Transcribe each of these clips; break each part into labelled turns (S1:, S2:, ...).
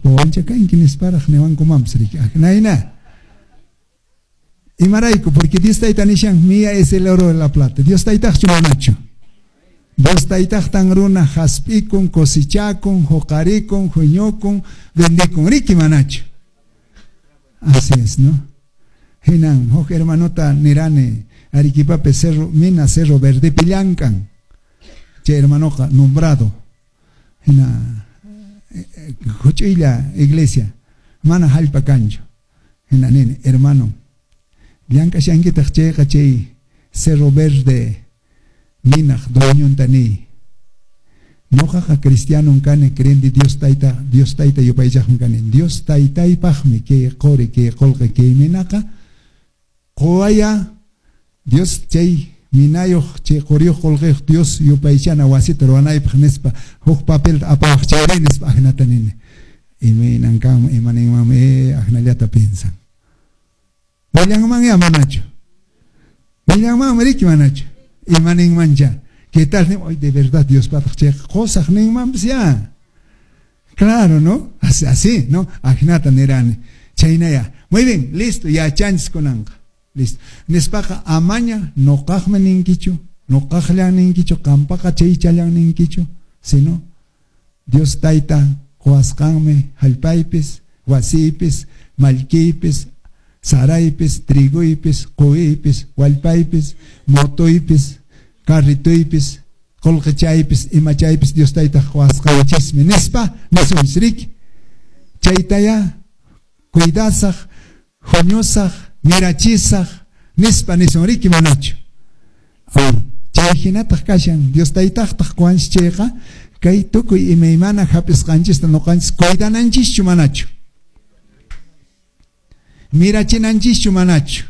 S1: wawancha kanki nisparaq niwankumanpas riki. Ajnayna. Imarayku, porque Dios tayta nishan, mía es el oro de la plata. Dios taytaqchu manachu. Dios taytaqtan runa hasp'ikun, cosechakun, huqarikun, huñukun, vendikun, riki manachu. Así es, ¿no? Hinan, huk hermanota nirani, Arequipapi Cerro, Mina Cerro Verde llamk'an. Chay hermanoqa nombrado. Hina huch'uylla iglesia, mana hallp'a kanchu. Hina nini, hermano, llank'ashankitaq chayqa chay Cerro Verde minaq dueñonta niy. Ñuqaqa cristianon kani, crendi Dios tayta yupaychaqmi kani. Dios taytaypaqmi kay quri, kay qullqi, kay minaqa quwaya Dios chay minayuq, chay quriyuq qullqiyuq Dios yupaychana wasita ruwanaypaq nispa huk papelta apawaq chayri nispa ajnata nini. Imaynan kanman, ima ninmanmi, ajnallata piensan. Willanmanya manachu. Willanmanmi riki manachu. Ima ninmancha. ¿Qué tal? Hoy de verdad Dios pataq chayqa qusaq ninmanpas ya. Claro, ¿no? Así, así, ¿no? Ajnata nirani. Chaynaya. Muy bien, listo, yachanchis kunanqa. Listo. Nispaqa amaña nuqaqmi ninkichu, nuqaqllan ninkichu, qampaqa chaychallan ninkichu, sino Dios tayta quwasqanmi hallpaypis, wasiypis, mallkiypis, saraypis, triguypis, quypis, wallpaypis, motoypis, carritoypis, qullqichaypis, imachaypis Dios tayta quwasqanchismi nispa nisunchis riki. Chaytaya cuidasaq, huñusaq, mirachisaq nispa nisun riki manachu. Chay hinataq kashan Dios taytaqtaq quwanchis chayqa kay tukuy imaymana hap'isqanchista nuqanchis cuidananchischu manachu. Mirachinanchischu manachu.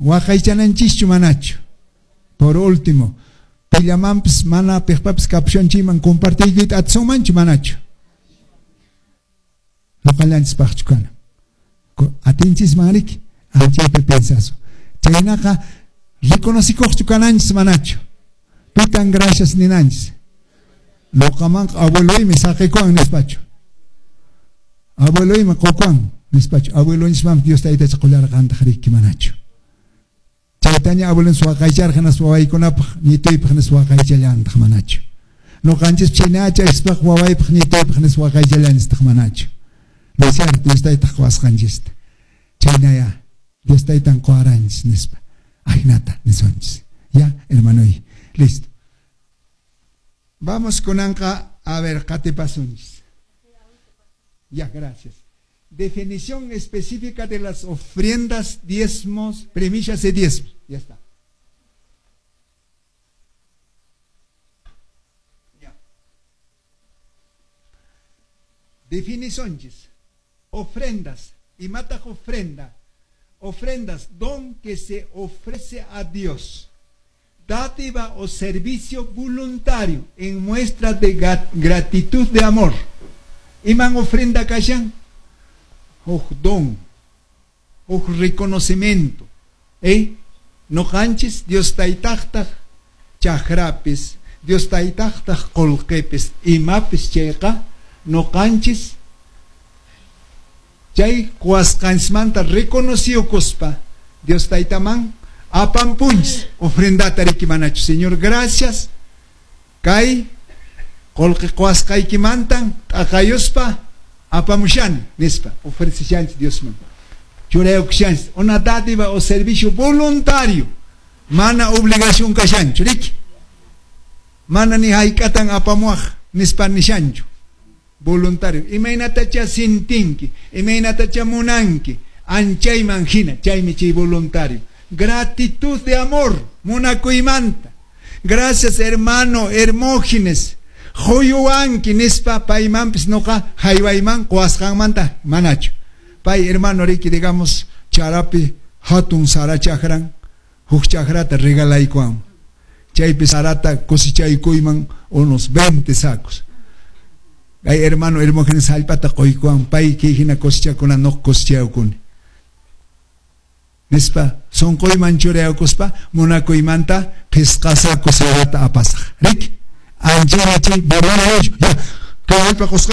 S1: Waqaychananchischu manachu. Por último, pillamanpis mana piqpapis kapushanchikman compartiykuyta atisunmanchu manachu. Nuqallanchispaqchu kana. Atinchisman riki, anchaypi pensasun. Chaynaqa reconocikuqchu kananchis manachu. Pitan gracias ninanchis. Nuqamanqa abueloymi saqikuwan nispachu. Abueloymi qukuwan nispachu. Abuelonchismanpas Dios taytacha qullarqantaq riki manachu. Chaytaña abuelonchis waqaycharqa hinaspa wawaykunapaq ñituypaq nispa waqaychallantaq manachu. Nuqanchis chaynacha ispaq wawaypaq ñituypaq nispa waqaychallanchistaq manachu. ¿No es cierto? Dios taytaq quwasqanchista. Chaynaya Dios taytan quwaranchis nispa. Ajnata nisunchis. Ya, hermanoy. Listo. Vamos kunanqa a ver qatipasunchis. Ya, gracias. Definición específica de las ofrendas, diezmos, primicias y diezmos. Ya está. Ya. Definiciones. Ofrendas. Imataq ofrenda. Ofrendas, don que se ofrece a Dios. Dádiva o servicio voluntario en muestra de gratitud de amor. Iman ofrenda kashan? Huk don, huk reconocimiento. Nuqanchis Dios taytaqtaq chakrapis, Dios taytaqtaq qullqipis, imapis chayqa nuqanchis chay quwasqanchismanta reconociyukuspa Dios taytaman apampunchis ofrendata riki manachu. Señor, gracias. Kay qullqi quwasqaykimantan t'aqayuspa apamushani nispa ofreceshanchis Diosman. Churayukushanchis una dádiva o servicio voluntario, mana obligación kashanchu riki. Mana ni hayk'atan apamuaq nispa nishanchu. Voluntario. Imaynatacha sintinki, imaynatacha munanki, anchayman hina, chaymi chay voluntario. Gratitud de amor, munakuymanta. Gracias hermano Hermógenes. Quyuwanki nispa paymanpis nuqa haywayman quwasqanmanta manachu. Pay hermano riki, digamos, charapi hatun sara chakran, huk chakrata regalaykuwan. Chaypi sarata cosechaykuyman unos 20 sacos. Kay hermano Hermógenes hallp'ata quykuwan, pay kay hina cosechakuna nuqa cosechaykuni. Nispa sunquyman churaykuspa munakuymanta qhisqa saco sarata apasaq. Riki, anchaymi chay voluntario. Ya, kay hallp'a qusqay